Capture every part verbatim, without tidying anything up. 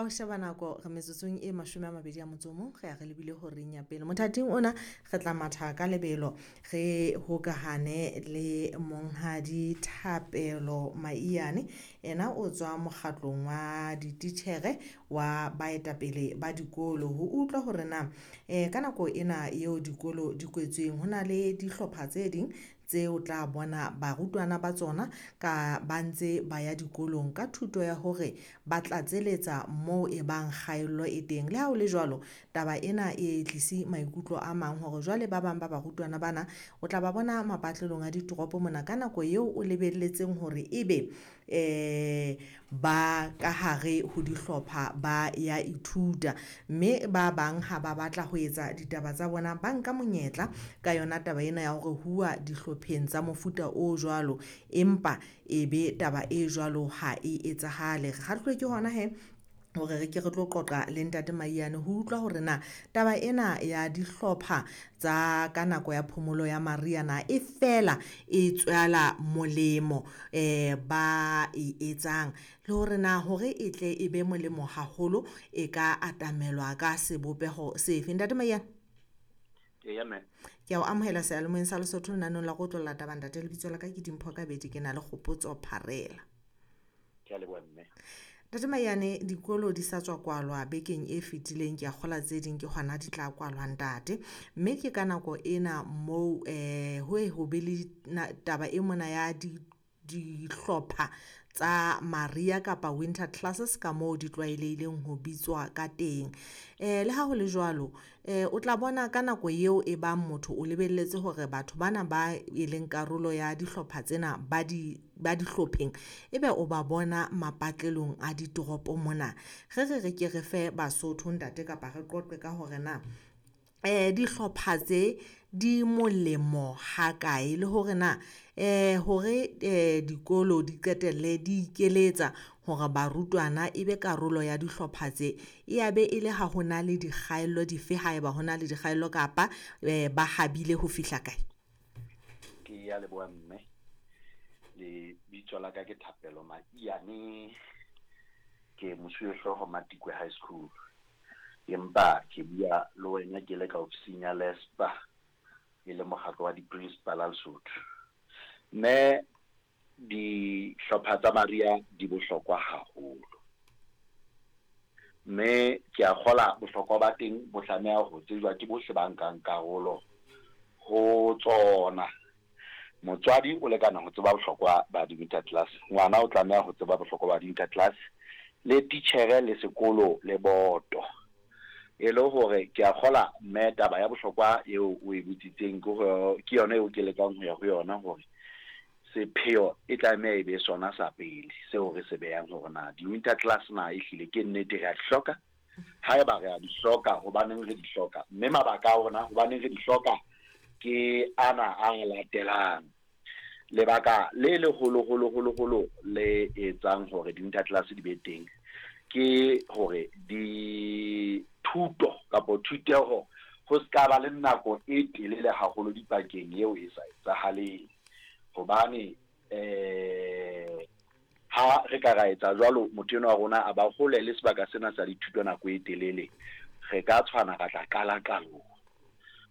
o sheba nako re metsotsong e mashome a mabedi a motso o mong, re ya re lebile horeng ya pele. Mothating ona re tla matha ka lebelo re hokahane le monghadi Thapelo Maiyane. Ena o tswa mokgatlong wa dititjhere wa baetapele ba dikolo, ho utlwa hore na um ka nako ena eo dikolo di kwetsweng ho na le dihlopha tse ding tseo tla bona barutwana ba tsona ka ba ntse ba ya dikolong ka thuto ya hore ba tlatseletsa moo e bang kgaello e teng. Le ha ho le jwalo, taba ena e tlise maikutlo a mang hore jwale ba bang ba barutwana bana o tla ba bona mapatlelong a ditoropo mona ka nako eo o lebelletseng hore ebe um ba ka hare ho dihlopha ba ya ithuta, mme ba bang ha ba batla ho etsa ditaba tsa bona ba nka monyetla ka yona taba ena ya hore huwa dihlopheng tsa mofuta o jwalo, empa e be taba e jwalo ha e etsahale. Re kgahluwe ke hona he hore re ke re tlo qoqa le ntate Maiyane ho utlwa hore na taba ena ya dihlopha tsa ka nako ya phomolo ya mariha na e fela e tswela molemo um ba e etsang, le hore na hore e tle e be molemo haholo e ka atamelwa ka sebopeho sefe. Ntate Maiyane, Eya mme. ke a o amohela seyalemoyeng sa Lesotho lenaneong la Re Otlolla Taba. Ntate, lebitso la ka ke Dimpho Kabedi, ke na le Kgopotso Pharela. Ke a leboha mme. Ntate Maiyane, dikolo di sa tswa kwalwa bekeng e fetileng, ke a kgola tse ding ke hona di tla kwalwa ntate. Mme ke ka nako ena moo um ho e ho be le taba e mona ya di dihlopha tsa mariha kapa winter classes ka moo di tlwaelehileng ho bitswa ka teng. Um le ha ho le jwalo, um o tla bona ka nako eo e bang motho o lebelletse hore batho bana ba e leng karolo ya dihlopha tsena ba di ba dihlopheng, ebe o ba bona mapatlelong a ditoropo mona. Re re re ke re fe Basotho ntate, kapa re qoqe ka hore na um dihlopha tse di molemo hakae, le hore na um hore um dikolo di qetelle di ikeletsa hore barutwana e be karolo ya dihlopha tse, e ya be e le ha ho na le dikgaello dife, haeba ho na le dikgaello kapa um ba habile ho fihla kae? Ke ya leboha mme. Lebitso la ka ke Thapelo Maiyane, ke mosuwehlooho Matikwe High School. Empa ke bua le wena ke le ka ofising ya LESPA, e le mokgatlo wa di-principal a Lesotho. Mme dihlopha tsa mariha di bohlokwa haholo. Mme ke a kgola bohlokwa ba teng bo tlameha ho tsejwa ke bohle ba nkang karolo ho tsona. Motswadi o lekana ho tseba bohlokwa ba di-winter class, ngwana o tlameha ho tseba bohlokwa ba di-winter class, le titjhere le sekolo le boto. E le hore ke a kgola mme taba ya bohlokwa eo o e botsitseng ke ho ke yona eo ke lekang ho ya ho yona hore sepheo e tlameha e be sona sa pele seo re se behang hore na di-winter class na ehlile ke nnete re a di hloka. Haeba re a di hloka, hobaneng re di hloka? Mme mabaka a rona hobaneng re di hloka ke ana a latelang. Lebaka le leholo holo holo holo le etsang hore di-winter class di be teng ke hore dithuto kapo thuteho ho ska ba le nako e telele haholo dipakeng eo e sa etsahaleng. Hobane eh ha re ka ra etsa jwalo, motho enwa wa rona a ba hole le sebaka sena sa dithuto nako e telele, re ka tshwana ra tla qala qalong.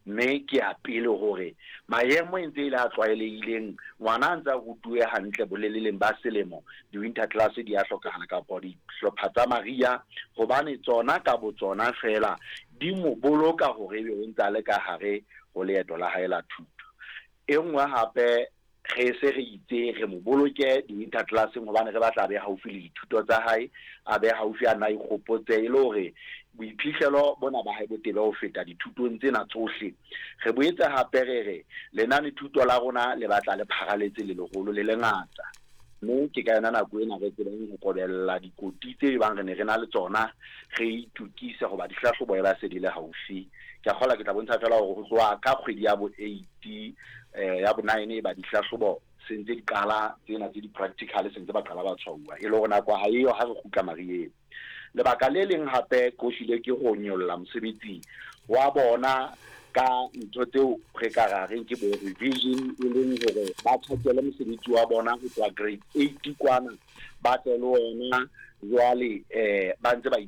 Mme ke ya pele hore maemo e ntse e le a tlwaelehileng, ngwana a ntse a rutuwe hantle boleleleng ba selemo, di-winter class di a hlokahala kapa dihlopha tsa mariha, hobane tsona ka botsona fela di mo boloka hore ebe o ntse a le ka hare ho leeto la hae la thuto. E nngwe hape re se re itse re mo boloke di-winter class-eng hobane re batla a be haufi le dithuto tsa hae, a be haufi a nna ikgopotse e le hore boiphihlelo bona ba hae bo tebe ho feta dithutong tsena tsohle. Re boetse hape re re lenane thuto la rona le batla le pharaletse le leholo le lengata. Mme ke ka yona nako ena re tsebang ho kobella dikoti tse bang re ne re na le tsona, re itukise hoba dihlahlobo e ba se di le haufi. Ke a kgolwa ke tla bontsha feela hore ho tloha ka kgwedi ya bo eight eh ya bo nine e ba dihlahlobo se ntse di qala tsena tse di-practical se ntse ba qala ba tshwauwa, e le hore nako ha eyo ha re kgutla mariheng. Lebaka le leng hape ko hlile ke ho nyolla mosebetsi wa bona ka ntho tseo re ka ra reng ke bo revision, e leng hore ba tjhakele mosebetsi wa bona ho tloha grade eight kwana, ba tle le ona jwale eh ba ntse ba